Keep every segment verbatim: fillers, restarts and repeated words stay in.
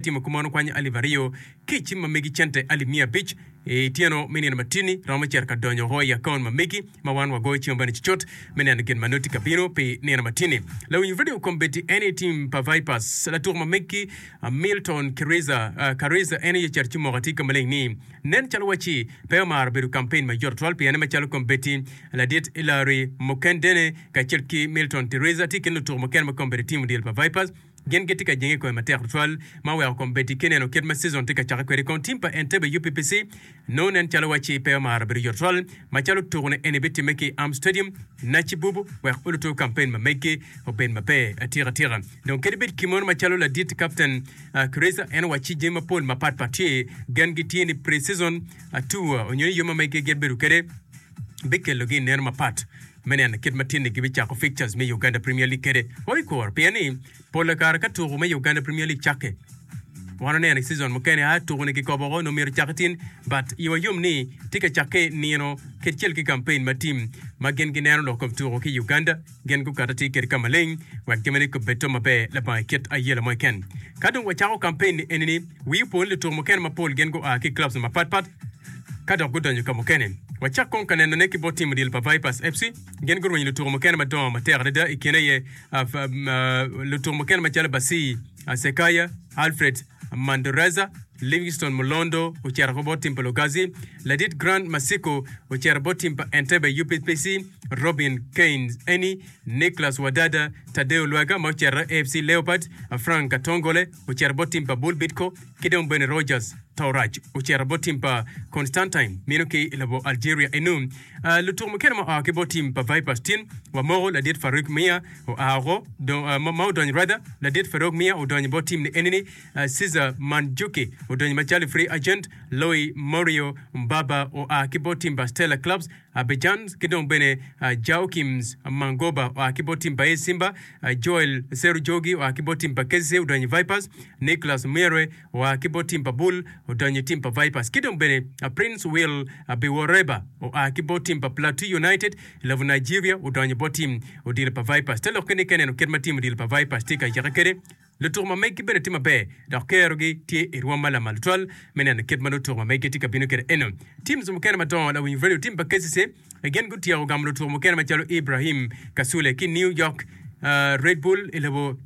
Timo kumeno kwanyo alip aryo ki i cim ma megi cente alip miya abic i tyeno me nino matini romo cito ka donyo woko i akaun ma megi ma wan wagoyo cim bene cucut me neno gin ma nongo tye ka bino pi nino matini. Lawiny radio kombeddi en aye tim pa Vipers latuk ma megi Milton Kiriza Kariza en aye ocito ci omoko atir ka maleng ni nen calo wacci pe omaro bedo kampen mayot tutwal piene macalo kombeddi ladit Hillary Mukendene kacel ki Milton Teresa tye i kin lutuku mukene ma kombeddi tim odilo pa Vipers. Gin gitye ka jenge i kome matek tutwal ma oweko kombeddi ki neno kit ma season tye ka cakke kwede. Kong tim pa Entebbe U P P C nongo nen calo wacci pe omaro bedo yot tutwal macalo tuku-ni eni bitimme ki i Arm Stadium, Nachibubu wek olutu kampen ma meggi obed maber atika tika. Dong kadi bed kimono macalo ladit kapten Kiriza en owacci jami mapol mapat pat tye gengi tye ni pre-season tour onyo ni yo ma meggi gin bedo kwede bikelogi i neno mapat me neno kit ma tinni gibicako fixtures me Uganda Premier League kwede. Wabikuro pien ni pol kare ka tuku me Uganda Premier League cakke wan oneno i season mukene a tuku ni kikobo woko onongo myero ocake tin, but iwa yom ni tye ka cakke nino kacel ki campaign ma tim ma gin gineno lok kom tuku ki Uganda gin gukato atir kwede ka maleng wek jamine gubed to maber labongo kit ayela mo keken. Ka dong wacako campaign ni enini, wii opo ni lutuku mukene mapol gin gua ki clubs mapat pat ka dok gudonyo ka mukene. Wacak kong ka nenone ki bot tim odilo pa Vipers F C. Gin gurwenyo lutuku mukene madongo matek adada, i kine aye lutuku mukene macalo Basii Sekaya, Alfred Mandoreza, Livingstone Mulondo ocito ko bot tim pa Lugazi, ladit Grant Masiko ocito bot tim pa Entebbe U P P C, Robin Keynes Eni, Nicholas Wadada, Tadeo Lwaga ma ocito A F C Leopards, Frank Katongole ocito bot tim pa Bull Bidco ki dong bene Rogers Torach ocito bot tim pa Constantine mino ki i lobo Algeria. Enu lutuku mukene ma oa ki bot tim pa Vipers tin wamoko ladit Farouk Mia oa oko ma odonyo, rather ladit Farouk Mia odonyo bot tim ni enini, Cesar Manjuki odonyo macalo free agent, Loi Morio Mbaba oa ki bot tim pa Stella Clubs Abidjan ki dong bene Joachims Mangoba oa ki bot tim pa A S Simba, Joel Serujogi oa ki bot tim pa K C C odonyo i Vipers, Nicholas Miere oa ki bot tim pa Bull odonyo i tim pa Vipers ki dong bene Prince Will Biworeba oa ki bot tim pa Plateau United i lobo Nigeria odonyo bot tim odilo pa Vipers. Te lokke ni ka ineno kit ma tim odilo pa Vipers tye ka yeke kwede, lutuku ma meggi bene tye maber dok kerogi tye i rwom ma lamal tutwal me neno kit ma lutuku ma meggi tye ka bino kwede. Eno teams mukene madongo, lawiny radio, tim pa K C C gin gutyeko gamo lutuku mukene macalo Ibrahim Kasule ki New York uh, Red Bull i lobo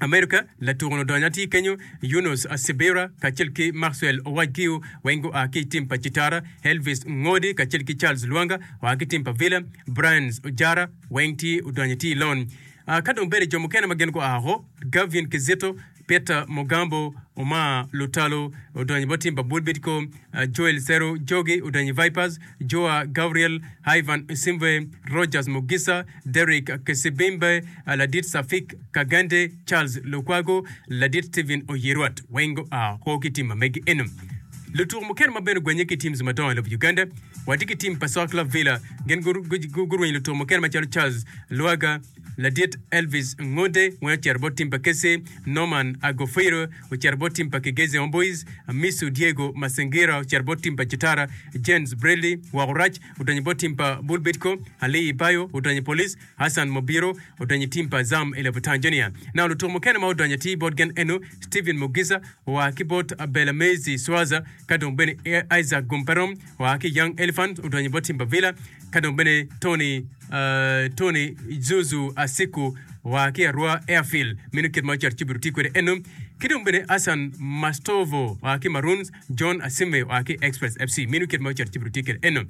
America. Latuku-nu odonyo atir kenyo, Yunus Sibira kacel ki Maxwell Owajgiu weng gua ki i tim pa Citara, Elvis Ngodi kacel ki Charles Lwanga oa ki tim pa Villa, Brian Ojara weng tye odonyo atir i loan. uh, ka dong bedo jo mukene ma gin gua oko, Gavin Kizito, Peter Mugambo, Omar Lutalo odonyo bot tim pa Bull Bidco, uh, Joel Seru Jogi odonyo i Vipers, Joa Gabriel, Ivan Simve, Rogers Mugisa, Derek Kesibimbe, uh, ladit Safik Kagande, Charles Lukwago, ladit Steven Oyirwat weng gua oko ki tim ma megi. Eno lutuku mukene ma bene ogwenye ki teams madongo i lobo Uganda. Watye ki tim pa Soccer Club Villa, gin gurwenyo lutuku mukene macalo Charles Lwaga, ladit Elvis Ngode weng ocito bot tim pa K C C, Norman Agofiro ocito bot tim pa Kigezi Homeboys, Misu Diego Masengira ocito bot tim pa Citara, James Bradley woko rac odonyo bot tim pa Bull Bidco, Ali Ibayo odonyo i Police, Hassan Mobiro odonyo i tim pa Azam i lobo Tanzania. Na lutuku mukene ma odonyo atir bot gin eno Steven Mugisa oa ki bot Belamezi Swaza, ka dong bene Isaac Gumperom oa ki Young Elephant odonyo bot tim pa Villa, ka dong bene Tony uh, Tony Zuzu Asiku oa ki Arua Airfield. Meno kit ma ocito ci obedo tye kwede eno. Ki dong bene Hassan Mastovo oa ki Maroons, John Asime oa ki Express F C. Meno kit ma ocito ci obedo tye kwede eno.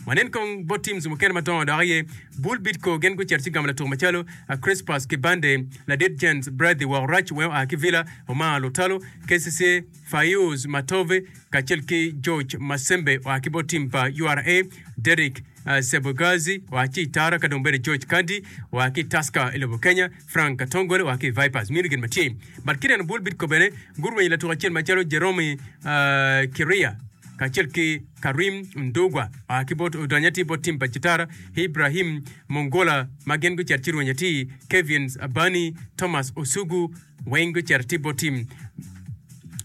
Wanen kong bot teams mukene madongo dok aye Bull Bidco, gin gucito ci gamo latuko macalo Crispas Kibande, ladit James Bradley woko rac weng oa ki Villa, Omar Lutalo K C C, Fayuz Matove kacel ki George Masembe oa ki bot tim pa U R A, Derek uh, Sebogazi oa ki Itara, ka dong bene George Kandi oa ki Tusker i lobo Kenya, Frank Katongole oa ki Vipers. Mino gin ma tye. But kineno Bull Bidco bene gurwenyo latuko acel macalo Jerome uh, Kiria kacel ki Karim Ndugwa oa ki bot odonyo atir bot tim pa Citara, Ibrahim Mongola ma gin gucito ci rwenyo atir, Kevin Abani, Thomas Osugu weng gucito atir bot tim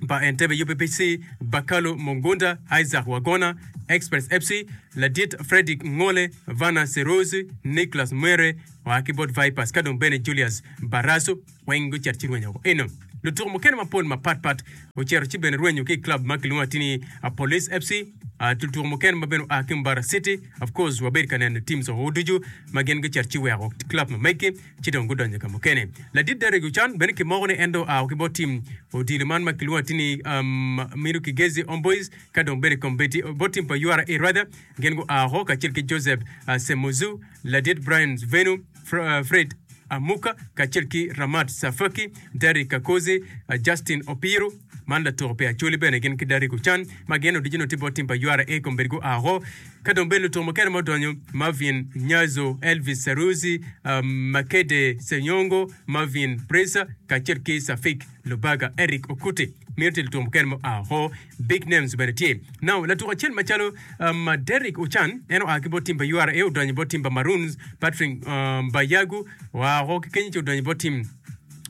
pa Entebbe U P P C, Bakalu Mungunda, Isaac Wagona, Express F C, ladit Frederick Ngole, Vana Serozi, Nicholas Mwere oa ki bot Vipers, ka dong bene Julius Barasu weng gucito ci rwenyo eno. Lutuko mukene mapol mapatpat ocito ci bene rwenyo ki i club ma kilwongo atir ni Police F C. Lutuko mukene ma bene oa ki Mbarara City, of course wabedo ka neno teams woko ducu ma gin gucito ci weko club ma megi ci dong gudonyo ka mukene. Ladit Derrick Ochan bene kimoko ni en dong oa ki bot team odilo man ma kilwongo atir ni um, Mino Kigezi Homeboys ka dong bedo i kombeddi bot team pa U R A rather gin gua oko kacel ki Joseph uh, Semuzu, ladit Brian Venu, Fr uh, Fred Amuka kacel ki Ramat Safaki, Derrick Kakozi, uh, Justin Opiru man latuko pi Acholi bene gin ki Derrick Ochan ma gin odijino tye bot team pa U R A kombeddi gua oko ka dong bene lutuko mukene ma odonyo Marvin Nyazo, Elvis Saruzi, um, Makede Senyongo, Marvin Presa kacel ki Safik Lubaga, Eric Okuti mino tye lutuko mukene ma oa oko. Big names bene tye. Now latuko acel macalo um, Derrick Ochan en oa ki bot team pa U R A odonyo bot team pa Maroons. Patrick um, Bayagu oa oko ki kenyo ci odonyo bot team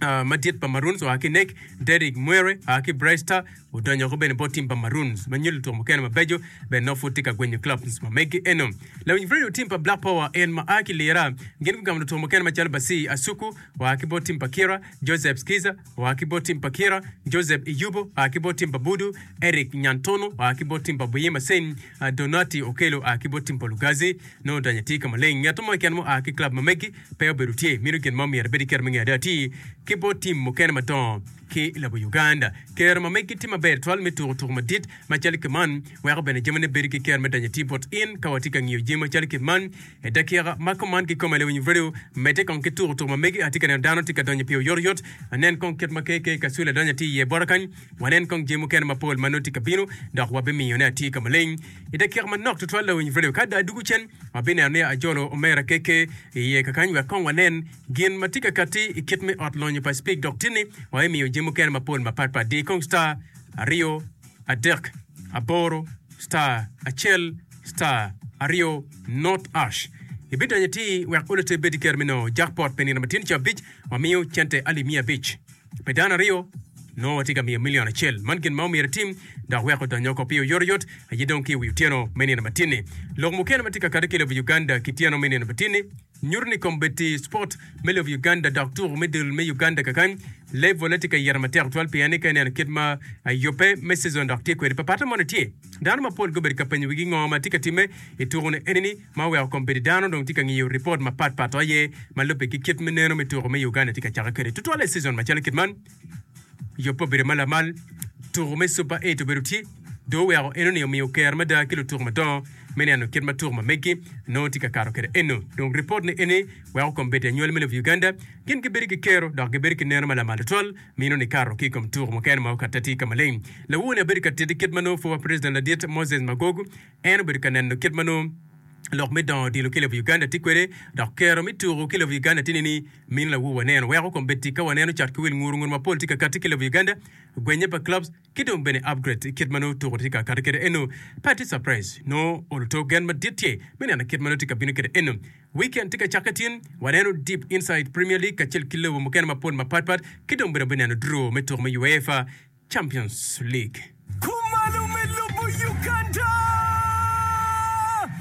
uh, madit pa Maroons oa ki Nek. Derrick Mwere oa ki Bright Star odonyo oko bene bot team pa Maroons ma nyuto lutuko mukene mabeco bene nongo pud tye ka gwenyo clubs ma megi eno. Lawiny radio, team pa Black Power en ma a ki Lira gin gugamo lutuko mukene macalo Basi Asuku oa ki bot team pa Kira, Joseph Skiza oa ki bot team pa Kira, Joseph Iyubo oa ki bot team pa Budu, Eric Nyantono oa ki bot team pa Buyima Sen, uh, Donati Okelo oa ki bot team pa Lugazi nongo odonyo atir ka maleng. Ngat mo keken mo oa ki club ma megi pe obedo tye mino gin mo myero bed iketo me ngeyo ada atir ki bot team mukene madongo ki lobo Uganda. Kero ma megi tye maber twal me tuko tuko madit macalo ki man weko bene jamine bedo ki kero me donyo atir bot in ka watye ka ngiyo jami macalo kit man e dakika ma kuman kikome. Lewiny radio, medde kong ki tuko tuko ma megi. Atye ka neno dano tye ka donyo pi oyotoyot. Anen kong kit ma K K Kasule donyo atir iye bota kany. Wanen kong jami mukene mapol ma nongo tye ka bino dok wabimiyone atir ka maleng i dakika manok tutwal. Lewiny radio, ka dong adugo cen wabineno ni ajolo omera K K iye kakany wek kong wanen gin ma tye ka kati i kit me ot lonyo pa Speke dok tinni wabimiyo jami mukene mapol mapatpat. Di kong star aryo adek aboro star acel star aryo not hash ibidonyo ti wek olote bed ker me nongo jackpot pi nino matin ca abic wamiyo cente alip miya abic pi dano aryo nongo watye ka miyo milion acel. Man gin ma omyero itim dok wek odonyo oko pi oyotoyot aye dong ki i wi otyeno me nino matin-ni. Lok mukene ma tye ka kati ki lobo Uganda ki tyeno me nino matin-ni nyuto ni kombeddi sport me lobo Uganda dok tuko me dul me Uganda kakany level tye ka yito matek twal pien ni ka ineno kit ma yubbe me season dok tye kwede papata moni tye dano mapol gubedo ka penyo wigi ngo ma tye ka timme i tuko ni enini ma oweko kombeddi dano dong tye ka ngiyo report mapatpat aye ma lubbe ki kit me neno me tuko me Uganda tye ka cake kwede tutwal i season macalo kit man. Yubbe obedo ma lamal, tuko me Super eight obedo tye dong oweko enoni omiyo ker mada ki lutuko madongo me neno kit ma tuko ma megi nongo tye ka kato kwede eno. Dong ripot ni eni weko kombeddi anywali me lobo Uganda gin gibedo ki kero dok gibedo ki neno ma lamal tutwal mino ni kato ki i kom tuko mukene ma okatte tye ka maleng. Lawoni abedo ka titi kit ma nongo former president ladit Moses Magogo en obedo ka neno kit ma nongo lok me dongo odilo ki lobo Uganda tye kwede dok kero me tuko ki lobo Uganda tye nini mino lawu waneno weko kombeddi ka waneno cat ki wil nguru nguru mapol tye ka kati ki lobo Uganda gwenye pa clubs ki dong bene upgrade kit ma nongo tuko tye ka kati kwede eno. Pe tye surprise nongo oluto gen madit tye me neno kit ma nongo tye ka bino kwede eno. Weekend tye ka cakke tin waneno deep inside Premier League kacel ki lobo mukene mapol mapatpat ki dong bene bineno draw me tuko me UEFA Champions League. Kumalo me lobo Uganda!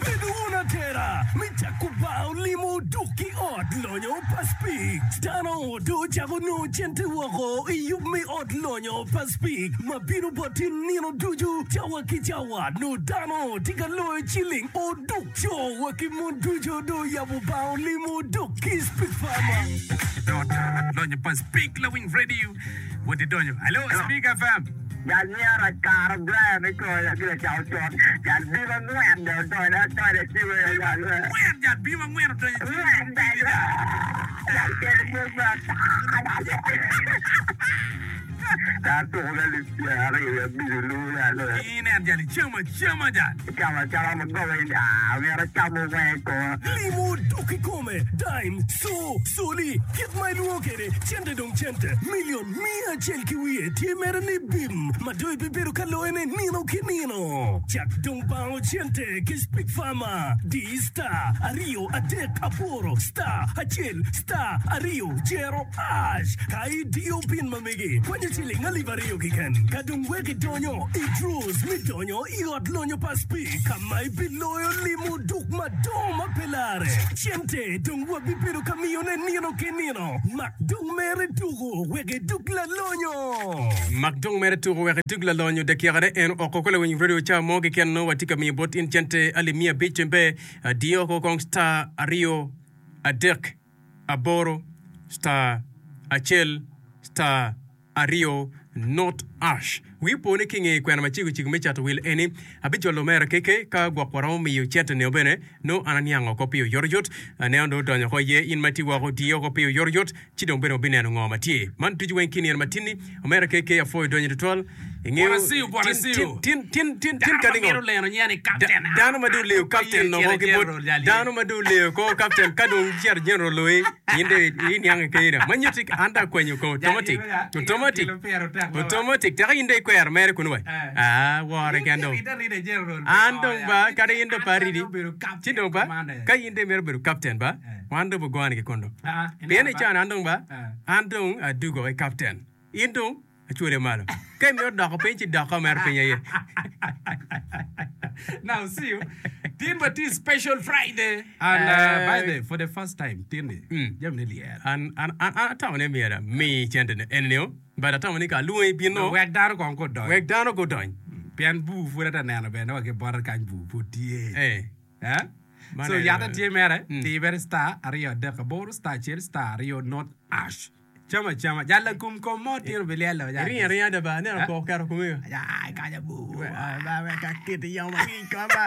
Bedo wun atera me cako bar olimo duk ki ot lonyo pa Speke. Dano do ocako nongo cente woko i yub me ot lonyo pa Speke ma bino bot in nino ducu cawa ki cawa nongo dano tye ka loyo ciling oduk co wa ki mon ducu do oyabo bar olimo duk ki Speke Farmer. Lonyo pa Speke Lawiny Radio wodi donyo. Hello, Speke F M. Jal myero akaro Brian i koya gire cako con. Jal bim angwen de odonyo odonyo ciwe jal. Ngwen jal bim angwen odonyo. Ngwen jal. Jal kede musa. Jal tuko ga alip pyeraryo abic olu jal. Inen jal icamo acama jal. Camo acama magoba in ah myero acamo weng ko. Limo duk kikome, dime, so, soli, kit ma ilwongo kede, cente dong cente, milion mia acel ki wiye tye mere ni bim, ma dong ibibedo ka loyone nino ki nino. Cak dong bango cente ki Speke Farmer. Di star aryo adek aboro star acel star aryo jero hash. Ka idiyo pin ma megi, kwanyo ciling alip aryo keken. Ka dong wek idonyo i draws me donyo i ot lonyo pa Speke ka ma ibiloyo limo duk madongo ma pe lare. Cente dong wabibedo ka miyone nino ki nino. Mak dong mere tuko wek idug lalonyo. Mak dong mere tuko wek idug lalonyo. Dakikane en oko ko lawiny radio ca mo keken nongo watye ka miyo bot in cente alip miya abic tembe diyo oko kong star aryo adek aboro star acel star aryo not ash. Wii opo ni ki i nge kwena macego cego me cato wil eni, abijolo omera keke ka gwok waromo miyo cente nio bene nongo an aniang oko pi oyotoyot. Aneno dong odonyo oko iye in ma itye woko odiye oko pi oyotoyot ci dong bene wabineno ngo ma tye. Man ducu weng ki nino matinni omera keke apwoyo donyo tutwal. Ingeyo Bwana Siu, Bwana tin Siu. tin tin tin tin Dano ka ma ningo mito leno nyen ni captain. dano ma dong oleyo Pe ye captain cito oko ki bot general jal ye. dano ma dong oleyo ko captain ka dong cito general loyi in dong iniang kene ma nyutti an dong akwanyo ko Jal automatic ye ya, automatic kilo pyero tek loyo. automatic teka in dong ikwero mere kunu wa Eh. ah wore ken dong Rida rida general. an dong ba kadi in dong An pa aridi obedo ci captain dong ba commander. ka in dong imito bedo captain ba Eh. wan dong bugone ki kun dong Ah, pien i can an dong ba Eh. an dong adugo i captain in dong acwele malo ka imito doko piny ci doko mere piny aye Now see you. Tin but is special Friday. And uh, Eh. by the for the first time, tin Mm. jam ni lier. an an an an atamo ni myero ami cente ni eni nio but atamo ni ka alwongi bino Wek dano kong kodony. wek dano gudony Pien bu pud ata neno bene wa ki bota kany bu pud tye. eh Eh? Man So en- yata tye mere, Mm. ti mere star aryo adek aboro star acel star aryo not ash. Chama chama. Jala kum kom mo tino bilielo. jal. ringa ringa da ba aneno Eh? kor keto komego Ya, kanya bu. ba wek akit yamo angic ko ba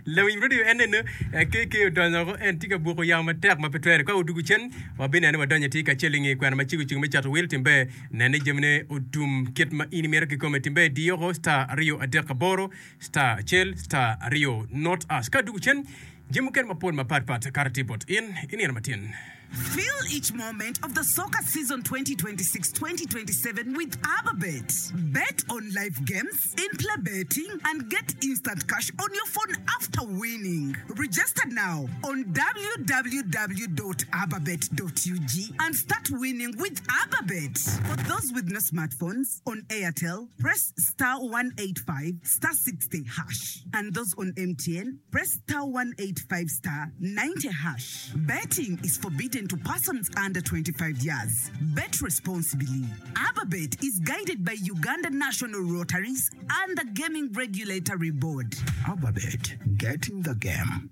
lawiny radio en eno kk odonyo oko en tye ka buko yamo matek ma pe twere ka odugo cen wabineno ni wadonyo atir kacel i nge kwena macego cego me cato wil timbe nene jamine otum kit ma in imito kikome timbe diyo oko star aryo adek aboro star acel star aryo not us ka odugo cen jami mukene mapol mapatpat kara tye bot in inino matin Feel each moment of the soccer season twenty twenty-six twenty twenty-seven with Ababet. Bet on live games, in-play betting, and get instant cash on your phone after winning. Register now on w w w dot ababet dot u g and start winning with Ababet. For those with no smartphones, on Airtel, press star one eight five star sixty hash. And those on M T N, press star one eight five star ninety hash. Betting is forbidden to persons under twenty-five years. Bet responsibly. Ababet is guided by Uganda National Rotaries and the Gaming Regulatory Board. Ababet, get in the game.